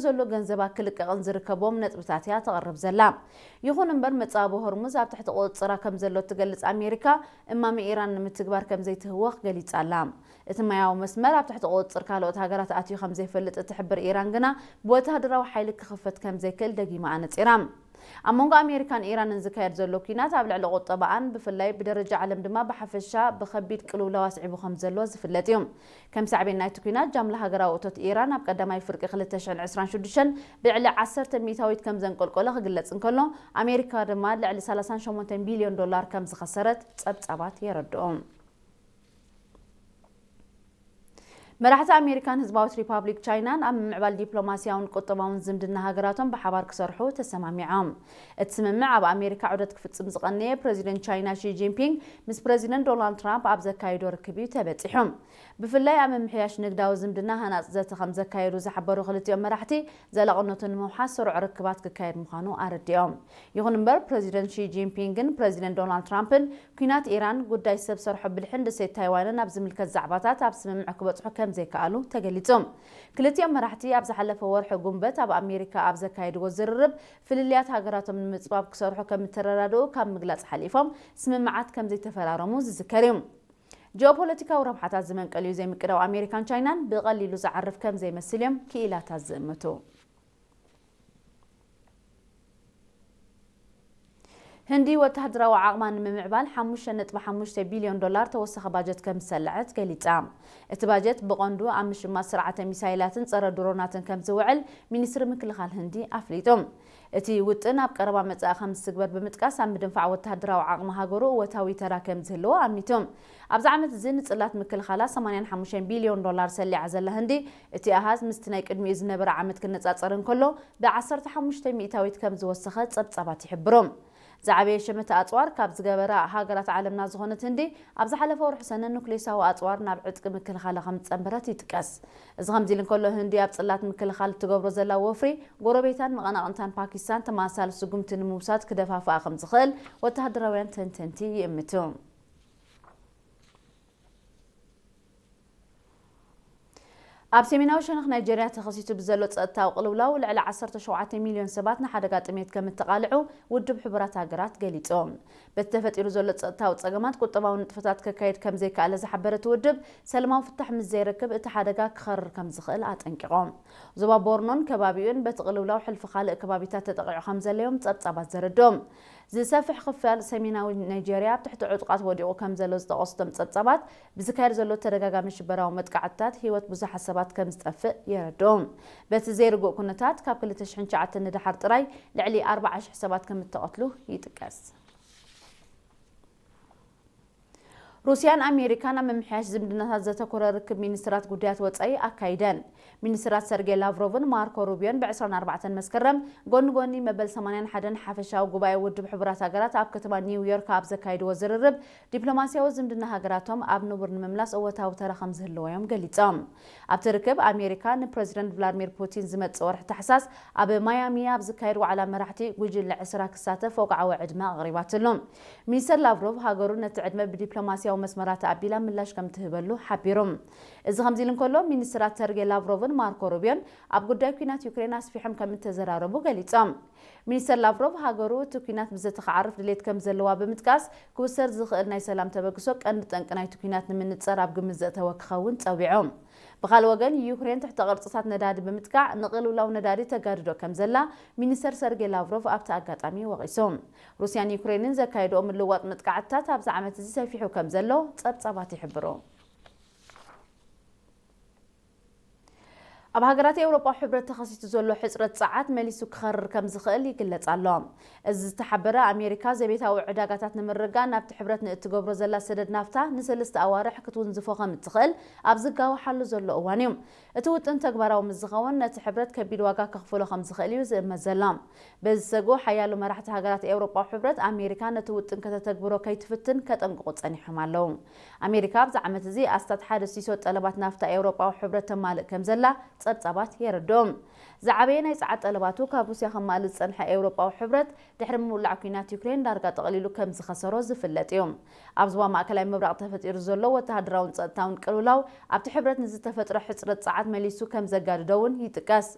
ዘሎ ገንዘባ ክልቀቕን ዝርከቦም ነጥብታት እያ ተቕርብ ዘላ። ይኹን እምበር፣ መጻወቢ ሆርሙዝ ኣብ ትሕቲ ቁጽጽራ ከም ዘሎ እትገልጽ ኣሜሪካ፣ እማመ ኢራን ንምትግባር ከም ዘይትህወኽ ገሊጻ ኣላ። እቲ ማያዊ መስመር ኣብ ትሕቲ ቁጽጽር ካልኦት ሃገራት ኣትዩ ከም ዘይፈልጥ እትሕብር ኢራን ግና፣ ብወተሃደራዊ ሓይሊ ክኽፈት ከም ዘይክእል ደጊማ ኣነጺራ። ኣብ መንጎ ኣሜሪካን ኢራንን ዝካየድ ዘሎ ኲናት ኣብ ልዕሊ ቁጠባኣን ብፍላይ ብደረጃ ዓለም ድማ ብሓፈሻ ብኸቢድ ቅልውላው ኣስዒቡ ከም ዘሎ ዝፍለጥ እዩ። ከም ሳዕቤን ናይቲ ኲናት ጃምላ ሃገራዊ እቶት ኢራን ኣብ ቀዳማይ ፍርቂ ክልተ ሽሕን ዕስራን ሽዱሽተን ብልዕሊ ዓሰርተ ሚእታዊት ከም ዘንቆልቆለ ክግለጽ እንከሎ ኣሜሪካ ድማ ልዕሊ ሰላሳን ሸሞንተን ቢልዮን ዶላር ከም ዝኸሰረት ጸብጻባት የረድኡ። መራሕቲ ኣሜሪካን ህዝባዊት ሪፓብሊክ ቻይናን ኣብ ምምዕባል ዲፕሎማስያውን ቁጠባውን ዝምድና ሃገራቶም ብሓባር ክሰርሑ ተሰማሚዖም። እቲ ስምምዕ ኣብ ኣሜሪካ ዑደት ክፍጽም ዝቐነየ ፕረዚደንት ቻይና ሺ ጂንፒንግ ምስ ፕረዚደንት ዶናልድ ትራምፕ ኣብ ዘካየዶ ርክብ እዩ ተበጺሑ። ብፍላይ ኣብ ምምሕያሽ ንግዳዊ ዝምድና ሃናጽ ዘተ ከም ዘካየዱ ዝሓበሩ ክልቲኦም መራሕቲ፣ ዘላቕነቱ ንምውሓስ ስሩዕ ርክባት ክካየድ ምዃኑ ኣረዲኦም። ይኹን እምበር፣ ፕረዚደንት ሺ ጂንፒንግን ፕረዚደንት ዶናልድ ትራምፕን ኲናት ኢራን፣ ጉዳይ ሰብ ሰርሖ ብልሕን ደሴት ታይዋንን ኣብ ዝምልከት ዛዕባታት ኣብ ስምምዕ ክበጽሑ ከም ዘይከኣሉ ተገሊጹ። ክልቲኦም መራሕቲ ኣብ ዝሓለፈ ወርሒ ጉንበት ኣብ ኣሜሪካ ኣብ ዘካየድዎ ዝርርብ፣ ፍልልያት ሃገራቶም ንምጽባብ ክሰርሑ ከም እተረዳድኡ ካብ ምግላጽ ሓሊፎም፣ ስምምዓት ከም ዘይተፈራረሙ ዝዝከር እዩ። ጂኦፖለቲካዊ ረብሓታት ዝመንቀሊኡ ዘይምቅዳው ኣሜሪካን ቻይናን ብቐሊሉ ዝዓርፍ ከም ዘይመስል እዮም ክኢላታት ዝእምቱ። ህንዲ ወተሃደራዊ ዓቕማ ንምምዕባል ሓሙሽተ ነጥቢ ሓሙሽተ ቢልዮን ዶላር ተወሳኺ ባጀት ከም ዝሰለዐት ገሊጻ። እቲ ባጀት ብቐንዱ ኣብ ምሽማት ስርዓተ ሚሳይላትን ጸረ ድሮናትን ከም ዝውዕል ሚኒስትሪ ምክልኻል ህንዲ ኣፍሊጡ። እቲ ውጥን ኣብ ቀረባ መጻኢ ከም ዝትግበር ብምጥቃስ፣ ኣብ ምድንፋዕ ወተሃደራዊ ዓቕሚ ሃገሩ እወታዊ ተራ ከም ዝህልዎ ኣሚቱ። ኣብዚ ዓመት እዚ ንጽላት ምክልኻላ ሰማንያን ሓሙሽተን ቢልዮን ዶላር ሰሊዓ ዘላ ህንዲ፣ እቲ ኣሃዝ ምስቲ ናይ ቅድሚኡ ዝነበረ ዓመት ክነጻጸር እንከሎ፣ ብዓሰርተ ሓሙሽተ ሚእታዊት ከም ዝወሰኸ ጸብጻባት ይሕብሩ። ዝዓበየ ሸመተ ኣጽዋር ካብ ዝገበራ ሃገራት ዓለምና ዝኾነት ህንዲ፣ ኣብ ዝሓለፈ ወርሒ ሰነ ኑክሌሳዊ ኣጽዋር ናብ ዕጥቂ ምክልኻላ ከም ዝጸንበረት ይጥቀስ። እዚ ከምዚ ኢሉ እንከሎ፣ ህንዲ ኣብ ጽላት ምክልኻል እትገብሮ ዘላ ወፍሪ፣ ጎረቤታን መቐናቕንታን ፓኪስታን ተመሳሳሊ ስጉምቲ ንምውሳድ ክደፋፍኣ ከም ዝኽእል ወተሃደራውያን ተንተንቲ ይእምቱ። ኣብ ሰሜናዊ ሸነኽ ናይጀርያ ተኸሲቱ ብዘሎ ጸጥታዊ ቅልውላው፣ ልዕሊ ዓሰርተ ሸውዓተ ሚልዮን ሰባት ንሓደጋ ጥሜት ከም እተቓልዑ ውድብ ሕቡራት ሃገራት ገሊጹ። በቲ ተፈጢሩ ዘሎ ጸጥታዊ ጸገማት፣ ቁጠባዊ ንጥፈታት ከካይድ ከም ዘይከኣለ ዝሓበረ እቲ ውድብ፣ ሰላማዊ ፍታሕ ምስ ዘይረክብ እቲ ሓደጋ ክኸርር ከም ዝኽእል ኣጠንቂቖም። ዞባ ቦርኖን ከባቢኡን በቲ ቅልውላው ሕልፊ ካልእ ከባቢታት ተጠቒዑ ከም ዘሎ እዮም ጸብጻባት ዘረድኦም። ዝሰፍሕ ክፋል ሰሜናዊ ናይጀርያ ኣብ ትሕቲ ዕጡቓት ወዲቑ ከም ዘሎ ዝጠቐሱ እቶም ጸብጻባት፣ ብዝካየድ ዘሎ ተደጋጋሚ ሽበራዊ መጥቃዕትታት ህይወት ብዙሓት ሰባት ከም ዝጠፍእ የረድኡ። በቲ ዘይርጉእ ኩነታት፣ ካብ ክልተ ሽሕን ትሽዓተን ንደሓር ጥራይ ልዕሊ ኣርባዓ ሽሕ ሰባት ከም እተቐትሉ ይጥቀስ። ሩስያን ኣሜሪካን ኣብ ምምሕያሽ ዝምድናታት ዘተኮረ ርክብ ሚኒስትራት ጉዳያት ወጻኢ ኣካይደን። ሚኒስትራት ሰርጌይ ላቭሮቭን ማርኮ ሩቢዮን ብ ዕስራን ኣርባዕተን መስከረም ጎኒ ጎኒ መበል ሰማንያን ሓደን ሓፈሻዊ ጉባኤ ውድብ ሕቡራት ሃገራት ኣብ ከተማ ኒውዮርክ ኣብ ዘካይድዎ ዝርርብ፣ ዲፕሎማስያዊ ዝምድና ሃገራቶም ኣብ ንቡር ንምምላስ እወታዊ ተራ ከም ዝህልዎ እዮም ገሊጾም። ኣብቲ ርክብ፣ ኣሜሪካ ንፕረዚደንት ቭላድሚር ፑቲን ዝመጽእ ወርሒ ታሕሳስ ኣብ ማያሚ ኣብ ዝካየድ ዋዕላ መራሕቲ ጉጅለ ዕስራ ክሳተፍ ወግዓዊ ዕድመ ኣቕሪባትሉ። ሚኒስተር ላቭሮቭ፣ ሃገሩ ነቲ ዕድመ ብዲፕሎማስያዊ መስመራት ኣቢላ ምላሽ ከም ትህበሉ ሓቢሩ። እዚ ከምዚ ኢሉ እንከሎ፣ ሚኒስትራት ሰርጌ ላቭሮቭን ማርኮ ሩቢዮን ኣብ ጉዳይ ኲናት ዩክሬን ኣስፊሖም ከም እተዘራረቡ ገሊጾም። ሚኒስተር ላቭሮቭ፣ ሃገሩ እቲ ኲናት ብዘተ ክዓርፍ ድሌት ከም ዘለዋ ብምጥቃስ፣ ክውሰድ ዝኽእል ናይ ሰላም ተበግሶ ቀንዲ ጠንቂ ናይቲ ኲናት ንምንጻር ኣብ ግምት ዘእተወ ክኸውን ጸዊዑ። ብኻልእ ወገን፣ ዩክሬን ትሕተ ቅርጽታት ነዳዲ ብምጥቃዕ ንቅልውላው ነዳዲ ተጋድዶ ከም ዘላ ሚኒስተር ሰርጌ ላቭሮቭ ኣብቲ ኣጋጣሚ ወቒሱ። ሩስያን ዩክሬንን ዘካየድኦ ምልውዋጥ መጥቃዕትታት ኣብዚ ዓመት እዚ ሰፊሑ ከም ዘሎ ጸብጻባት ይሕብሩ። ኣብ ሃገራት ኤውሮጳዊ ሕብረት ተኸሲቱ ዘሎ ሕጽረት ጸዓት መሊሱ ክኸርር ከም ዝኽእል ይግለጽ ኣሎ። እዚ ዝተሓበረ፣ ኣሜሪካ ዘቤታዊ ዕዳጋታት ንምርጋእ ናብቲ ሕብረት ንእትገብሮ ዘላ ሰደድ ናፍታ ንሰለስተ ኣዋርሕ ክትውንዝፎ ከም እትኽእል ኣብ ዝጋወሓሉ ዘሎ እዋን እዩ። እቲ ውጥን ተግባራዊ ምስ ዝኸውን፣ ነቲ ሕብረት ከቢድ ዋጋ ከኽፍሎ ከም ዝኽእል እዩ ዝእመት ዘሎ። በዚ ሰግኡ፣ ሓያሎ መራሕቲ ሃገራት ኤውሮጳዊ ሕብረት፣ ኣሜሪካ ነቲ ውጥን ከተተግብሮ ከይትፍትን ከጠንቅቑ ጸኒሖም ኣለዉ። ኣሜሪካ ኣብዚ ዓመት እዚ ኣስታት ሓደ ሲሶ ጠለባት ናፍታ ኤውሮጳዊ ሕብረት ተማልእ ከም ዘላ ጸብጻባት የረድኦም። ዝዓበየ ናይ ጸዓት ጠለባቱ ካብ ሩስያ ከማልእ ዝጸንሐ ኤውሮጳዊ ሕብረት፣ ድሕሪ ምውላዕ ኲናት ዩክሬን ዳርጋ ጠቕሊሉ ከም ዝኸሰሮ ዝፍለጥ እዩ። ኣብ ዞባ ማእከላይ ምብራቕ ተፈጢሩ ዘሎ ወተሃደራውን ጸጥታውን ቅልውላው፣ ኣብቲ ሕብረት ንዝተፈጥረ ሕጽረት ጸዓት መሊሱ ከም ዘጋድዶ እውን ይጥቀስ።